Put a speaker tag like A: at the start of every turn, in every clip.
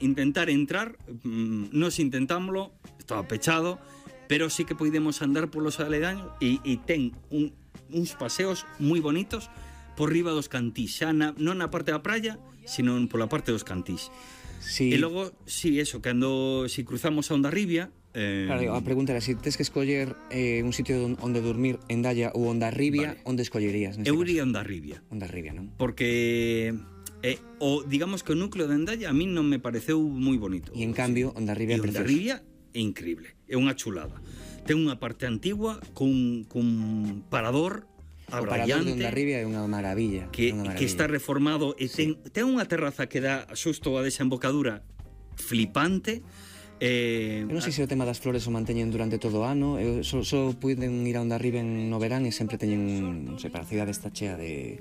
A: intentar entrar, nos intentámoslo, estaba pechado, pero sí que podemos andar polos aledaños e ten uns paseos moi bonitos por riba dos cantís, xa non na parte da praia, sino pola parte dos cantís.
B: Sí.
A: E logo, si cruzamos a Hondarribia,
B: claro, a pregunta era, se tes que escoller un sitio onde dormir en Dalla ou Hondarribia, onde escollerías?
A: Eu iría a Hondarribia.
B: Hondarribia, non?
A: Porque digamos que o núcleo de Endaya a mí non me pareceu moi bonito.
B: E en cambio, Hondarribia é precioso.
A: Hondarribia é increíble, é unha chulada. Ten unha parte antigua cun parador
B: abrallante. O parador de Hondarribia é unha maravilla.
A: Que está reformado e ten unha terraza que dá xusto a desembocadura flipante.
B: Eu non sei se o tema das flores o manteñen durante todo o ano. Eu só puiden ir a Hondarribia no verán e sempre teñen, non sei, para a cidade está chea de...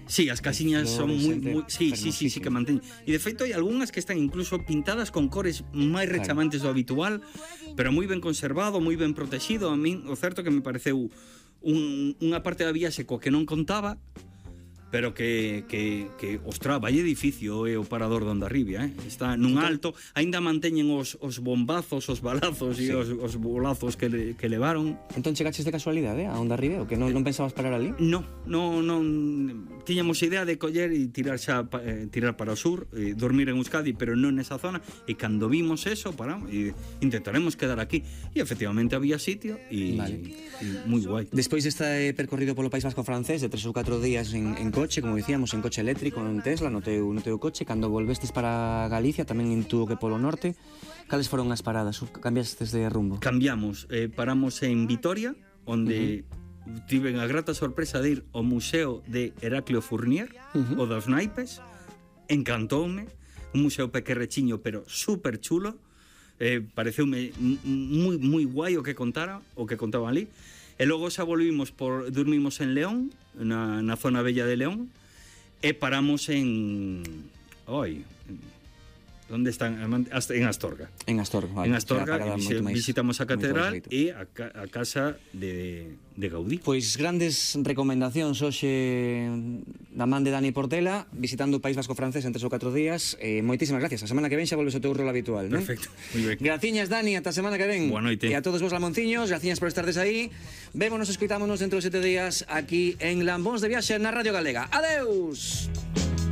A: Sí, as casiñas son moi sí, que manteñen. E de feito hai algunhas que están incluso pintadas con cores máis rechamantes do habitual, pero moi ben conservado, moi ben protegido. A min o certo que me pareceu unha parte da viaxe coa que non contaba, pero que ostra, vai edificio o parador de Hondarribia, está nun alto, aínda manteñen os bombazos, os balazos e os bolazos que levaron.
B: Entón chegaches de casualidade a Hondarribia, o que non pensabas parar ali?
A: Non, tiñamos idea de coller e tirar para o sur, dormir en Euskadi, pero non nesa zona, e cando vimos eso, paramos e intentaremos quedar aquí, e efectivamente había sitio e moi guai.
B: Despois deste percorrido polo País Vasco francés de 3 ou 4 días en coche, como dicíamos, en coche eléctrico, en Tesla, no teu coche, cando volvestes para Galicia, tamén intuo que polo norte, cales foron as paradas? Cambiastes de rumbo?
A: Cambiamos, paramos en Vitoria, onde tiven a grata sorpresa de ir ao Museo de Heraclio Fournier, o dos naipes, encantoume, un museo pequerrechiño, pero super chulo, pareceume moi guai o que contaban ali. E logo xa dormimos en León, na zona bella de León, e paramos en... onde están? En Astorga.
B: En Astorga, vale.
A: En Astorga, visitamos a catedral e a casa de Gaudí.
B: Pois grandes recomendacións hoxe da man de Dani Portela, visitando o País Vasco francés en 3 ou 4 días. Moitísimas gracias. A semana que ven xa volves ao teu rol habitual, non?
A: Perfecto, moi ben.
B: Graciñas, Dani, ata a semana que ven.
A: Boa noite.
B: E a todos vos lamonciños, graciñas por estardes aí. Vémonos, escoitámonos dentro de 7 días aquí en Lambóns de Viaxe na Radio Galega. Adeus!